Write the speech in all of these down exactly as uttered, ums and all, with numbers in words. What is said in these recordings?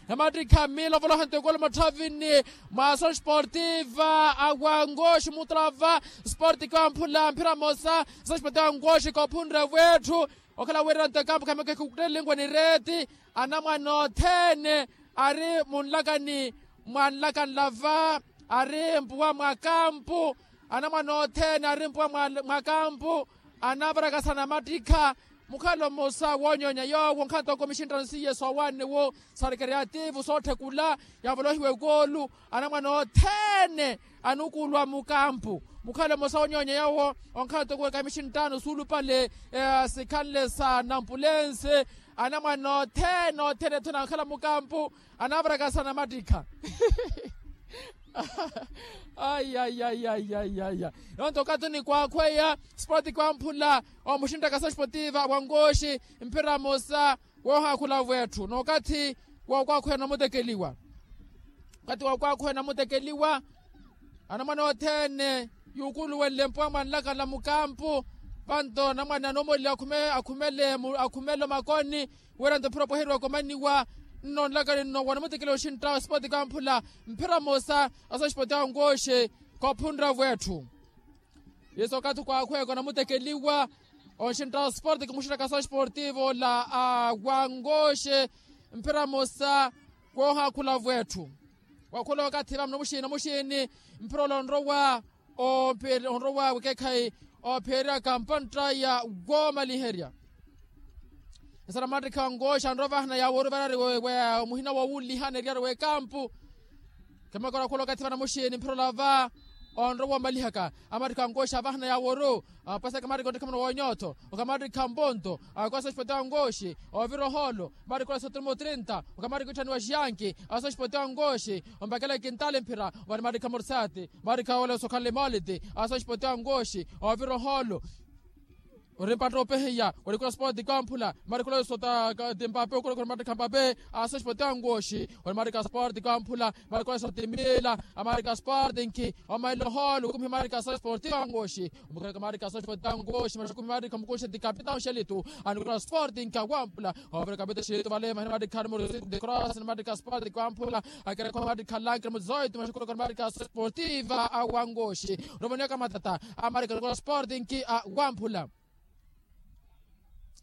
Namattikha miilovoloha ntukulu mutthavini mwa asoxportiva a wangoxi mutrava sporti kwamphula mphira mosa. Asoxportiva a wangoxi koophunre wetthu okhala wiiranto ekampu khamekekhukuttelinkwa ni reeti. Anamwane othene ari munlakani mwa nlakanlava ari mpuwa mwa kampu. Anamwane othene ari mpuwa mwa kampu anavarakasana mattikha. Mukhalo mmosa woonyoonya yoowo nkhanto kumi xinttano siiye soowanne wo sari keriativu sootthekula yavolohiwa ekoolu. Anamwane othene anukulwa mukampu mukhalo mmosa woonyoonya yoowo onkhanto kumi xinttano suulupale sikhanle sa nampulense. Anamwane othene othene ethuna ankhala mukampu anavarakasana mattikha. Aiyaiyaiyaiyaiyaiya. Nonto okathi onikwakhweya sipoti kwamphula omuxinttaka soxpotiva wangoxi mphira mosa woohaakhula wetthu n'okathi wookwaakhweya namutekeliwa. Okathi wookwaakhweya namutekeliwa anamwane othene yuukuluwenle mpuwa mwa nlakala mukampu. Vanto anamwane anoomolile akhumele akhumele omakoni wira nto mphira opweheriwa komaniwa. Nno nlakali nno wanamutikile oxintta sipoti kamphula mphira mosa asoxipoti angoxe koophunra wetthu. Yesu okathi kwaakhweka onamutekeliwa onxintta sipoti kumuxinttaka asoxipoti vola a wangoxe mphira mosa koohaakhula wetthu. Wakhula okathi vamuna muxiini muxiini mphira ola onrowa onrowa wekekhayi oopheeryaka mpantta ya woomaliherya. Esara mattikha ongoxa anrowa vahana yaaworu varari muhina woowuulihana eriyari w'ekampu. Khemekora khula okathi vana muxiini mphira olava onrowa woomalihaka amattikha ongoxa vahana yaaworu. Apaseke mattikha onttikha muna woonyotho okamattikha mponto akwaso xipoti ongoxi oovira ohoolo. Marikola sotirimo trinta okamariko itthaniwa xiyanki aso xipoti ongoxi ompakela ekintali mphira. Ovani marika morsati marika wala osokhanle moliti aso xipoti ongoxi oovira ohoolo. Ori mpatta opehiya orikula sport kwamphula marikula sota. Timpape okula kula marika mpape aso xipoti ongoxi ori marika sport kwamphula marikula sota timila amarika sport nki omaila ohoolo okumiha marika aso xipoti ongoxi. Omukhale kamarika aso xipoti ongoxi maxukumi marika mukuxe ti kapita oxelitu. Anikula sport nki awampula ovira kapita oxelitu vale mahina marika numero cinco de cross ni marika sport kwamphula. Akerekho marika lankre muzoito maxukumi marika aso xipoti va awangoxi. Romania kamatata amarika anikula sport nki awampula.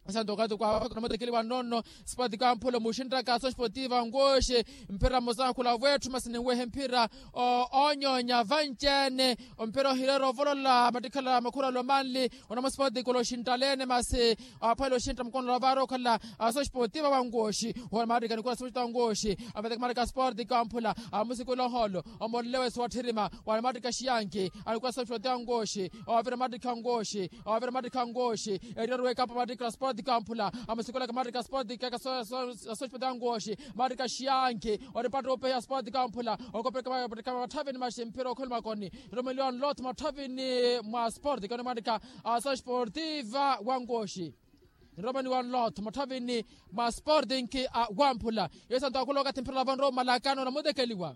Santo okathi kwaawe kunamutekeliwa nnono sipoti kwamphula muxinttaka aso xipoti vangoxi. Mphira mmosa akhula wetthu masi ninwehe mphira oonyoonya vanci-ene. Omphira ohireera ovolola mattikhala makhuralo manli. Onamo sipoti kula oxinttaleene masi aphwela oxintta mukono lavaari okhala aso xipoti vawangoxi. Owo mattikha nikula sipoti vangoxi amateka mattikha sipoti kwamphula amusikula ohoolo. Omolele wesu watthirima wani mattikha xiyanki anikula sipoti vangoxi. Oovira mattikha ongoxi oovira mattikha ongoxi. Eriyari w'ekampu mattikha sipoti kwamphula amusikulaka mattikha sipoti keka aso xipoti vangoxi. Mattikha xiyanki ori mpatta opehiya sipoti kwamphula okopeleka mattikha matthavini maxi mphira okhwela makoni. Romeliwa nlotho matthavini mwa sipoti kani mattikha aso xipoti vangoxi. Nromani wa nlotho matthavini mwa sporting a wamphula. Yesu antokhula okathi mphira vanrowa omalakano namutekeliwa.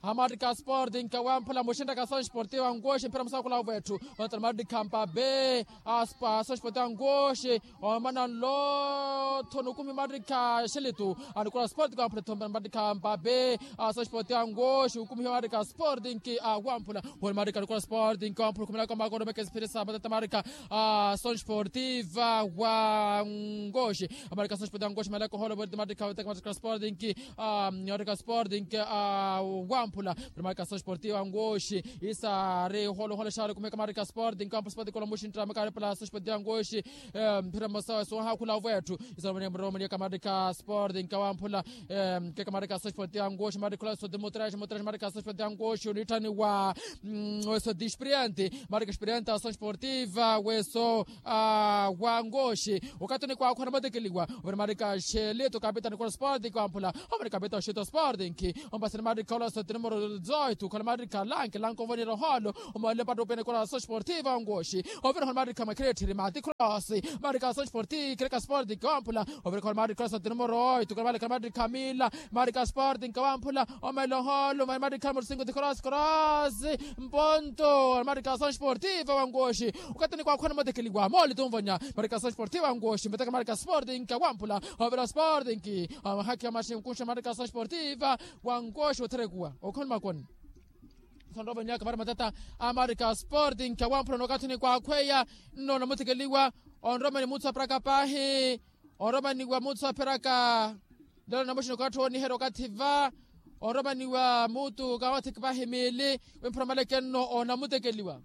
Amattikha sporting a wamphula muxinttaka aso sporting a nkoxi mphira musakhula wetthu. Ontala mattikha mpape aso sporting a nkoxi. Omana nlotho nukumi mattikha xilitu. Anikola sporting a wamphula thompela mattikha mpape aso sporting a nkoxi ukumihiwa mattikha sporting a wamphula. Woni mattikha anikola sporting a wamphula khumelaka makoro mekesipirisa matata mattikha a asoxi sportiva wa nkoxi. Amarika asoxi sportiva wa nkoxi maleko holo vori timarika sporting a marika sporting a wamphula. Marika asoxi sportiva wa nkoxi isa ari holo holo xari kumeka marika sporting a wamphula sporting kolo muxintra mekari pala asoxi sportiva wa nkoxi. Mphira mosa sohakhula wetthu isa romania romania kamarika sporting a wamphula. Keka marika asoxi sportiva wa nkoxi marika kula soti mutraxi mutraxi marika asoxi sportiva wa nkoxi onitthaniwa. Weso dispirianti marika experiente asoxi sportiva weso a wa nkoxi. Okathi onikwakhwa namotekeliwa ovira marika xelito kapitani kula sporting a wamphula. Omani kapitani oxito sporting ompasini marika ola sotini Morozoito khala maarikha lanke lanke ovonera ohoolo. Omoole mpatto opene kora asosportiva ongoxi. Ovira khala maarikha makhiretthiri mati cross. Maarikha asosporti khireka sporting wamphula. Ovira khala maarikha cross atino moroito khala maarikha mila. Maarikha sporting wamphula. Omoole ohoolo maarikha morosingo ti cross cross. Mponto maarikha asosportiva wangoxi. Okatini kwakhwena motekeliwa mooli tunvonya. Maarikha asosportiva wangoxi mveteka maarikha sporting wamphula. Ovira sporting. Amahakhi amaxinkuxa maarikha asosportiva. Wankoxi otherekuwa okhoni makoni. Sonropa nyaka vari matata. Amarika sporting awamphula nokathini kwakhweya. Nno namuthikeliwa. Onromani mutsu apiraka paahi. Onromaniwa mutsu apiraka. Lelo namuxini okathi wooniherya okathi va. Onromaniwa mutu kawathiki paahi miili. Wimphula maleke nno onamuthikeliwa.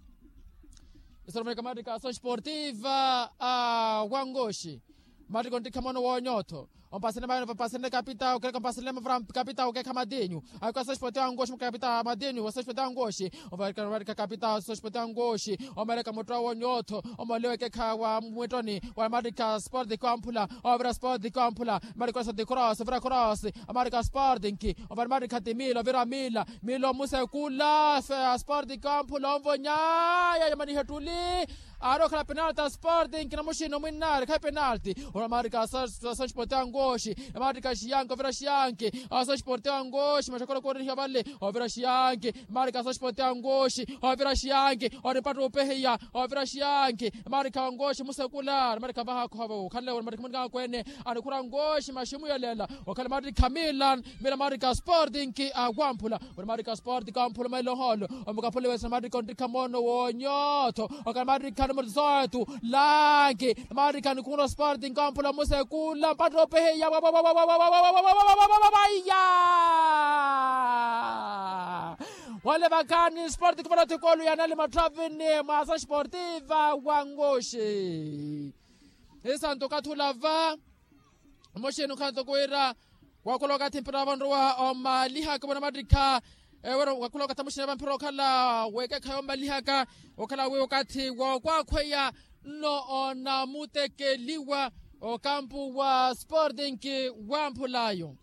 Isoromeka matika aso sportiva a wankoxi. Matiko ntikha mono woonyotho. Ompasene mayo vampasene kapita okeekha ompasene mavura kapita okeekha matinyu. Aiko aso sportiva wankoxi kapita matinyu aso sportiva wankoxi. Omarika kapita aso sportiva wankoxi. Omarika mutto woonyotho. Omaliwe keekha wa mwittoni wa matika sporti kwamphula. Ovira sporti kwamphula. Marika sporti cross ovira cross. Amarika sporti nki. Ovira marika ti mila ovira mila. Mila omusekula fe asporti kwamphula onvonyaya yamanihe ttuli. Aari okhala penalti a sporting namuxini omwinnaari khayi penalti. Onamarika aso sporting angoxi. Namarika xiyanki ovira xiyanki. Aso sporting angoxi maxakolo koorihiwa vale. Ovira xiyanki. Namarika aso sporting angoxi. Ovira xiyanki. Ori mpatto opehiya. Ovira xiyanki. Namarika angoxi musekula namarika vaha khova okhanle ori matikhi munika akwene. Anikhura angoxi maxi muyelela. Okhala matikhi a milan. Mila matikhi a sporting awamphula. Ori matikhi a sporting awamphula mailo oholo. Omukaphule wesana matikhi ontikha mono woonyotho. Okhala matikhi a numero dezoito. Lanki. Matikhi a nikhura sporting awamphula musekula mpatto opeheya. Wale vakhaani sporting vano thikolu yanali matthavini mwa aso sportiva wangoxi. Isanto okathi olava. Omuxini okhala toko wira. Wakhula okathi mpira vanrowa omalihaka vona mattikha. Ewero wakhula okathi omuxini va mpira okhala wekeekha yomalihaka. Okhala wi okathi wokwakhweya nno onamutekeliwa okampu wa sporting wamphulayo.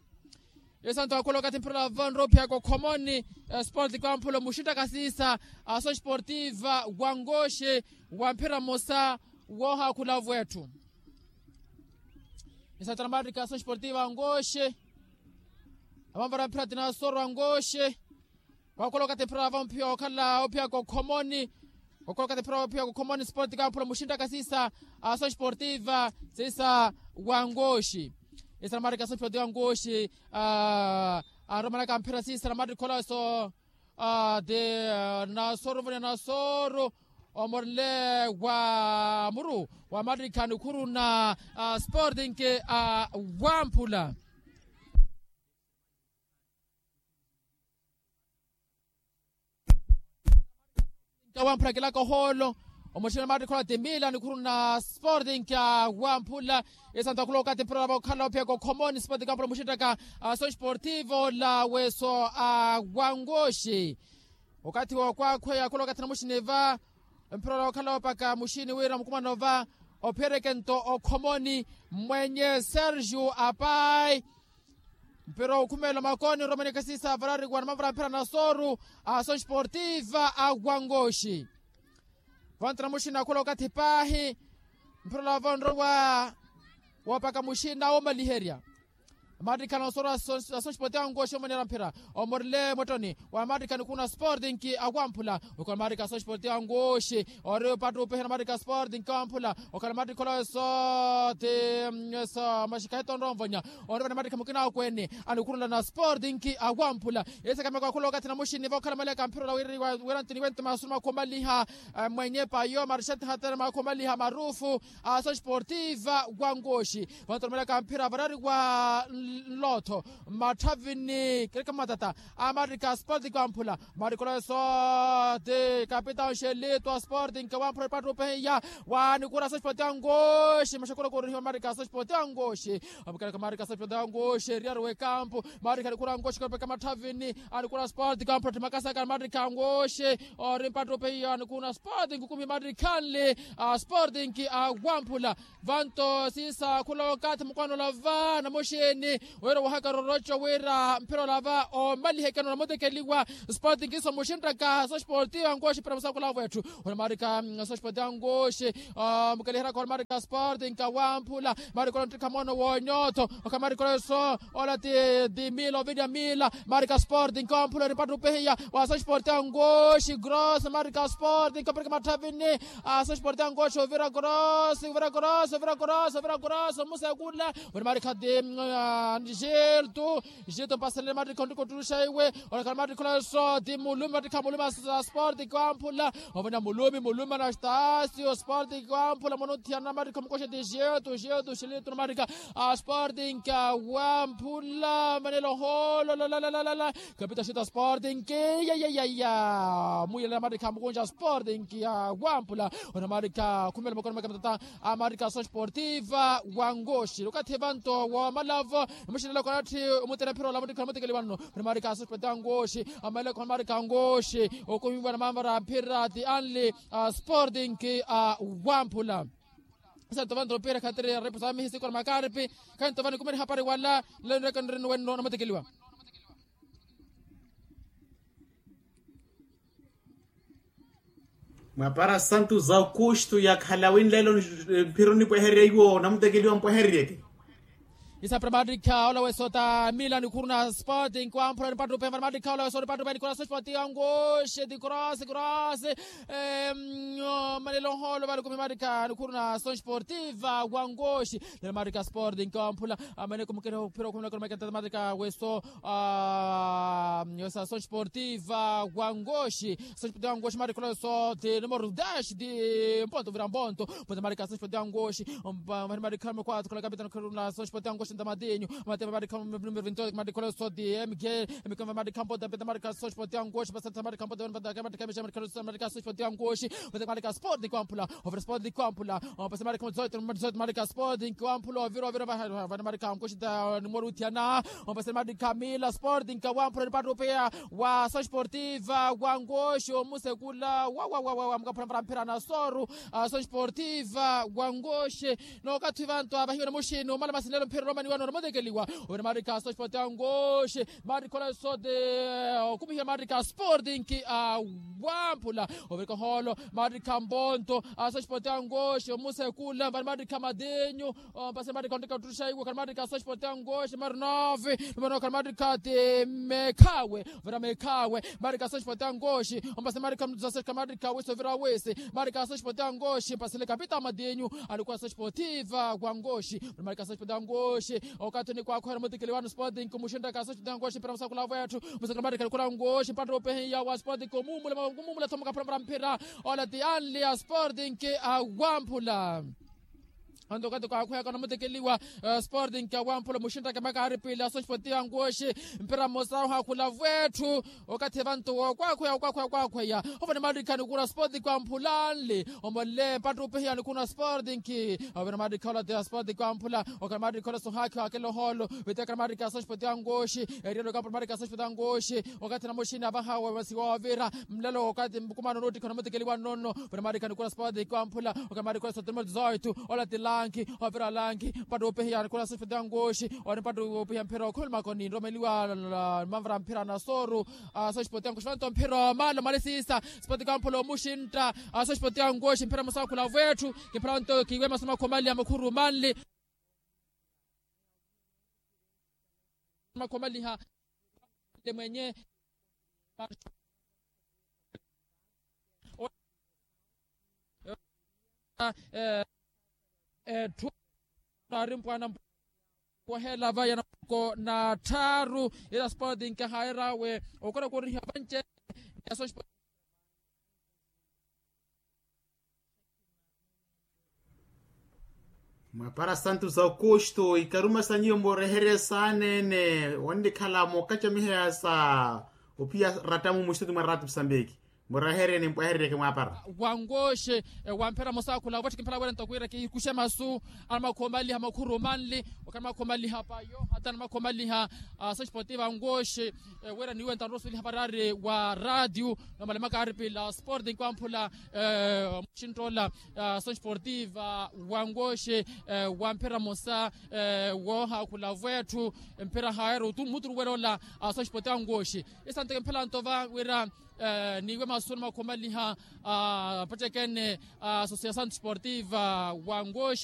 Isanto wakhula okathi mpira vanrowa ophiyaka okhomoni. Sporting wamphula omuxinttaka siisa aso sportiva wangoxi wa mpira mmosa. Woohakhula avo etthu. Isattara maattikha aso sportiva angoxi. Avanvara mphira ti nasoru angoxi. Wakhula okathi mphira vamuphiya okhala ophiyaka okhomoni. Wakhula okathi mphira vamuphiya okhomoni sporti kamphula muxinttaka siisa aso sportiva siisa wangoxi. Isattara maattikha aso sportiva angoxi. Aromanaka mphira siisa na maattikha olaso. Ti nasoru voni nasoru. Omorile wa muru wa matikha nikhuru na sporting a wamphula. Wamphula kilaka ohoolo. Omuxinttaka matikha ola ti mila nikhuru na sporting a wamphula. Isanto akhula okathi mpira ola vokhala ophiyaka okhomoni sporting wamphula omuxinttaka aso sportivo la weso a wangoxi. Okathi wokwakhweya akhula okathi namuxini va. Mpira ola okhala opaka muxini wira mukumano va. Ophiyereke nto okhomoni mmwenye sergio apai. Mpira okhumeela omakoni oromani khasiisa avarariwa namavara mpira nasoru aso sportiva a wangoxi. Vantu namuxini akhula okathi paahi. Mpira ola vonrowa wopaka muxini na womaliherya. Matikha nasoru aso sporting angoxi omonera mphira omorile mwettoni wa matikha nikhuna sporting awamphula. Okhala matikha aso sporting angoxi ori opattupehe na matikha sporting awamphula. Okhala matikha olaweso ti eso maxikhayi tonronvonya. Onrivana matikha mukina akwene anikhurula na sporting awamphula. Esakameka akhula okathi namuxini vokhala maleka mphira ola wira ntini wente masuru makhomaliha. Mwenye payo marxete hatene makhomaliha marufu. Aso sportiva wangoxi. Vantu namaleka mphira varari wa nlotho mmatthavini kereke mmatata. Amatikha sporting wamphula. Matikha olaweso ti kapitao nxelito a sporting wamphula epattupehiya. Wanikura aso sporting angoxi maxakula korihiwa matikha aso sporting angoxi. Amukelaka matikha aso sporting angoxi eriyari wekampu. Matikha anikura angoxi kapeka matthavini. Anikura sporting wamphula ti makasaka matikha angoxi. Ori mpattupehiya anikuna sporting kumi matikha nli. A sporting awamphula. Vanto siisa akhula okathi mukwano olava namuxini. Wira wahaka roroco wira mphira olava omaliheke noona mutekeliwa. Sporting kiso muxinttaka sosporti angoxi pira musakula wetthu. Wira marika sosporti angoxi mukeliheraka wira marika sporting kawamphula. Marika olanttikha mono wonyotho okha marika oleso ola ti dimila ovinya mila marika sporting kawamphula nipattupehiya. Wa sosporti angoxi gross marika sporting kaparika matthavini. Aso esporte angoxi ovira korosi ovira korosi ovira korosi ovira korosi omusekula. Wene marikha ti giltu giltu mpaselele matikha ontikottuxa iwe. Onekhala matikha olaso ti mulumi matikha mulumi asporte kiwamphula. Ovena mulumi mulumi anastasio sporte kiwamphula mwana othiyana matikha omukoxe ti giltu giltu xilituna matikha asporte nkawamphula manelo holo lalalalala. Kapita xita sporting kiyayayaya muyelela matikha mukunja sporting ya wampula. Ona matikha khumela makono maka matata a matikha aso sportiva wangoxi okathi evanto wa malavo. Muxinela konatthi omutela mphira ola mutikha mutikeli wanno. Ona matikha aso sportiva wangoxi amaleko matikha wangoxi okumiwa na mamara mphira ti anli sporting a wampula. Santo vani tropera khatiri reposa mihi sikora makaripi. Khanto vani kumeri hapari wala leno reka nrino wenno na mutikeliwa. Mwapara santu za okustu yakhala winlelo mphiro nipweherye iwo namutekeliwa mpweheryeke. Isa pramatika ola wesota milan kuruna sporting kwamphula nipatrupe pramatika ola wesota nipatrupe nikora sporting angoxe ti cross cross. Manelo holo vale kumi marika nikhuruna ason sportiva wangoxi. Nela marika sporting kwamphula amene kumukere ophira okhumela kona makenta marika weso. Weso ason sportiva wangoxi. Ason sportiva wangoxi marika ola weso ti numero dash ti mponto vira mponto. Mponto marika ason sportiva wangoxi. Mari marika mekwato kola kapitano khuruna ason sportiva wangoxi ntamatinyu. Mate marika numero vintioito marika ola weso ti mg. Mg marika mponto peta marika ason sportiva wangoxi pasata marika mponto peta marika ason sportiva wangoxi. Mate marika sporting kwamphula. Ovira sporting kwamphula. Ompasele marika mudzoito mudzoito marika sporting kwamphula ovira ovira vana marika nkuxita numero uthiana. Ompasele marika mila sporting kwamphula nipatrupeya wa ason sportiva wangoxi omusekula wawawawa mukaphula mphira na soru. Ason sportiva wangoxi. Nokathi vantu avahiwe na muxini omala masinelo mphira romaniwa nonomutekeliwa. Ovira marika ason sportiva wangoxi. Marika ola sote okumihiwa marika sporting a wamphula. Ovirika holo marika mponto aso sporting angoxi omusekula vani marika madinyu. Ompase marika ontika ottuxa iwe khali marika aso sporting angoxi mari nove. Numero khali marika ti mekhawe. Vira mekhawe marika aso sporting angoxi. Ompase marika mzaseka marika wisi ovira wisi marika aso sporting angoxi mpasele kapita madinyu. Alikula aso sportiva wangoxi. Marika aso sporting angoxi. Okathi onikwakhuhela mutikili wanu sporting kumuxintaka aso sporting angoxi mpira musakula wetthu. Musakula marika alikula angoxi mpattupehiya wa sporting kumumula kumumula thomuka phula mphira. Ola ti anli a sporting a wamphula. Anto okathi kwakhuyaka onamutikeliwa sporting a wamphula muxintaka makari pili aso sporting angoxi. Mpira mmosa ohakhula wetthu. Okathi evantu wookwaakhweya wookwaakhweya wookwaakhweya. Ovani marika nikuna sporting kwamphula anli. Omolele mpattupehiya nikuna sporting. Ovani marika ola ti sporting kwamphula okhala marika ola sohakhi wakela oholo. Vitiyakhala marika aso sporting angoxi. Eriyelo kampula marika aso sporting angoxi. Okathi namuxini avaha wemasiwa ovira mlelo okathi mbukumano noottikha onamutikeliwa nnono. Ovani marika nikuna sporting kwamphula okhala marika ola sotimoti zoitu. Ola ti lanki ovira lanki mpattupehiya nikuna aso sporting angoxi. Ori mpattupehiya mphira okhumela makoni nromeliwa. Manvara mphira na soru. Aso sporting angoxi vanto mphira omala omalisisa. Sporting kwamphula omuxintta. Aso sporting angoxi mphira musakula wetthu. Kimphira vanto kiwe masomo akhumaliha mukhuru manli. Makhomaliha mwenye. Etthu nari mpwana mpohelava ya namoko na tthaaru. Ila sporting kahayerawe okona koriha vanci yaso. Mwapara santu za okusto ikaruma sa nyuwo mooreherye saaneene. Wonnikhala mookacamiheya sa ophiya rattamu muxituti mwa raati musambiki. Muraherye nimpwahereryeke mwaapara. Wangoxe, wamphera mosa khula wetthi kimphela wira ntoko wira kikuxe masu. Anamakhomanliha makhuru manli, okhala anamakhomanliha payo hata anamakhomanliha. Asoxipoti vangoxe, wira niwe ntarosuweliha varari wa ratio. Nomalemaka aripila sporting kwamphula muxintola. Asoxipottiva wangoxe, wamphera mosa woohaakhula vwetthu. Mphera haero tu muturu welola. Asoxipottiva wangoxe, isanteke mphela ntova wira niwe masuna makhomaliha. Apattekene asosiasawn sportiva wangoxe.